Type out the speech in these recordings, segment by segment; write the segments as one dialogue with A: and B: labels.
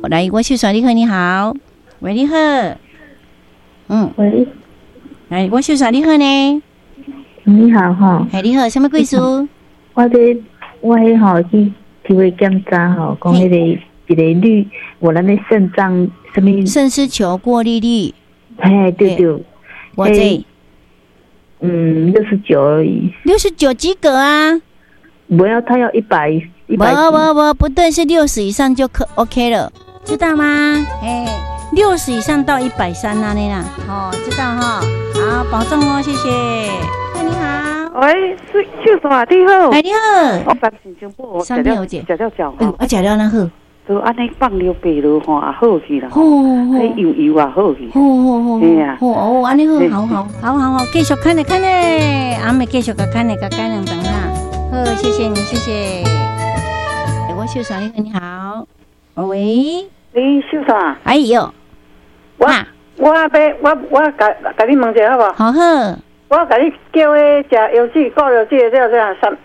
A: 來，我秀山你好，你好，喂，你好，
B: 喂，
A: 來，我秀山你好呢，
B: 你好吼，
A: 嘿，你好，啥物貴事？
B: 我這我彼吼去去去檢查吼，講彼個一個濾，我咱的腎臟啥物？
A: 腎絲球過濾率。
B: 嘿，對對。
A: 偌濟？69
B: 而已。
A: 69及格啊？
B: 不要，他要100，100。
A: 不不不，不對，是六十以上就可 OK 了，知道嗎？哎，六十以上到130那裡啦，哦，知道哈。好，保重哦，謝謝。你好。
C: 喂，是秀山你好。
A: 哎，你好。
C: 我三星珍寶，
A: 三片有食
C: 食了食。
A: 啊，食了哪好？
C: 就按呢放尿白落吼，也好去啦。彼油油也好去。
A: 好好好。
C: 嘿啊。
A: 好哦，按呢好，好好好好好，繼續看咧看咧，阿妹繼續共看咧，共看兩頓哈。好，謝謝你，謝謝。我秀山，你好。喂。
C: 喂，秀山。
A: 哎喲。
C: 我欲我共共你問一下好無？
A: 好好。
C: 我共你叫彼食藥水過藥水的這個啥？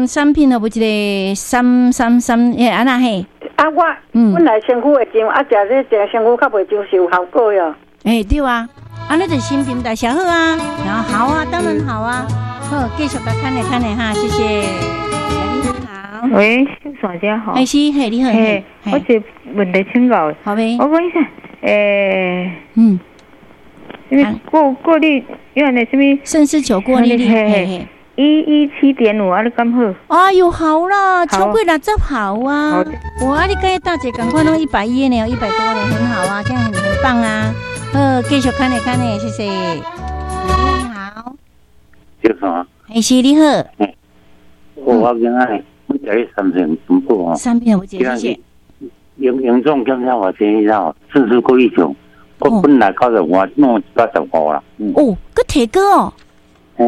A: 三片的無一個三三三，欸，按怎嘿？
C: 啊，我本來身軀會脹，啊，食這食身軀較袂脹是有效果喲。
A: 欸，對啊，按呢就新陳代謝好啊，然後好啊，當然好啊。好，繼續共看咧看咧哈，謝謝。你好。
D: 喂，秀山姐好。
A: 欸，是，嘿，你好。
D: 嘿，我一個問題請教。
A: 好唄。
D: 我問一下，欸，因為過濾，因為那啥物？
A: 腎絲球過濾率，嘿嘿。
D: 117.5，啊，你敢好？
A: 哎喲，好啦，超過60好啊！我啊，你佮大姐仝款攏110呢，100多呢，很好啊，這樣很棒啊！好，繼續看咧看咧，謝謝。你好。
E: 秀山。
A: 欸，是，你好。
E: 我今仔我食彼三片珍寶哦。
A: 三片有謝謝。
E: 營養檢查我先生哦，腎絲過濾球，我本來95，弄115啦。
A: 哦，閣提高哦。哦，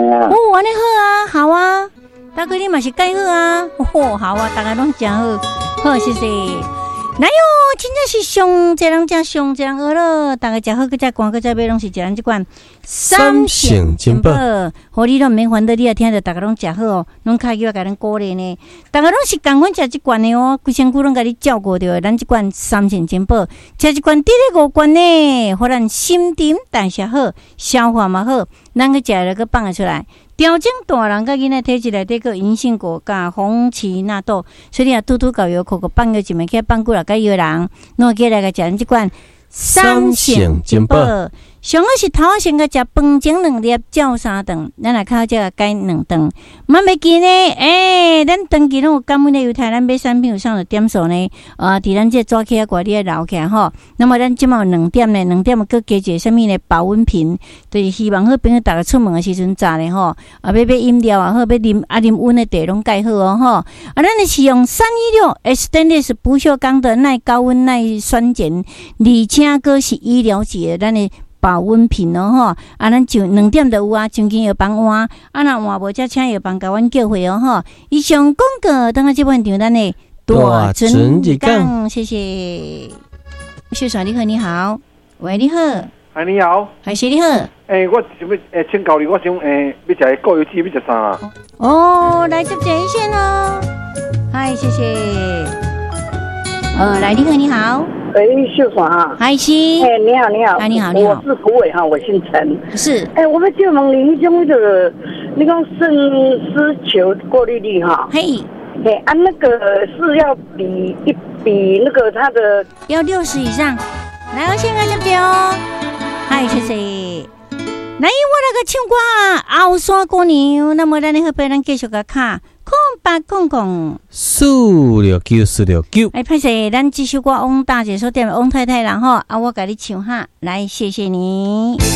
A: 按呢好啊，好啊，大哥你嘛是蓋好啊，哦，好啊，大家攏誠好，好，謝謝。來喲，真正是上濟人食，上濟人學咯，大家食好，閣再寒，閣再買，攏是食咱這款
F: 三聖珍寶。
A: 予你攏毋免煩惱，你也聽著，大家攏食好哦，攏開起來共咱鼓勵呢。大家攏是仝款食這罐的哦，規身軀攏共你照顧著，咱這罐三聖珍寶，食一罐得咧五罐呢，予咱新陳代謝好，消化嘛好，咱閣食了閣放會出來。調整大人佮囡仔體質內底閣銀杏果佮紅芪納豆，所以你若拄拄到藥庫閣放藥一暝，起放久了佮藥人，攏會記來共食咱這罐三聖珍寶。上好是頭仔先共食飯前兩粒，照三頓，咱若較少改兩頓。嘛袂記呢，欸，咱長期攏有感恩的猶太，咱買產品有送著點數呢。啊，佇咱這紙盒仔你愛留起來吼。那麼咱這馬有兩點呢，兩點閣加一個啥物呢？保溫瓶，就是希望好朋友逐家出門的時陣炸咧吼。啊，欲買飲料也好，欲啉啊啉溫的茶攏蓋好哦吼。啊，咱的是用316 stainless 不鏽鋼的耐高溫耐酸鹼，而且閣是醫療級的，咱的保溫瓶哦吼，啊，咱就兩點就有啊，將近藥房換，啊，若換無，才請藥房共阮叫貨哦吼。以上廣告，等下這半場咱的大船入港，謝謝。秀山你好，你好，喂，你好，
G: 哎，你好，
A: 還是你好，
G: 欸，我想欲欸請教你，我想欸欲食過油脂，欲食啥啊？
A: 哦，來接熱線哦，嗨，謝謝。來，你好，你好。
H: 喂，秀華啊，
A: 嗨，是。
H: 哎，你好，你好，
A: 哎，你好，你好，
H: 我是胡偉哈，我姓陳。
A: 是。
H: 哎，我欲借問你，彼種那個，你講腎絲球過濾率哈？
A: 嘿。
H: 嘿，啊，那個是要比一比那個它的
A: 要60以上。來，我先來接著哦。嗨，謝謝。來，我來個唱歌啊，後山姑娘。那麼咱的好朋友，咱繼續共敲0800
F: 469 469。
A: 哎，歹勢，咱這首歌翁大姐所點的翁太太啦吼，啊，我共你唱哈，來，謝謝你。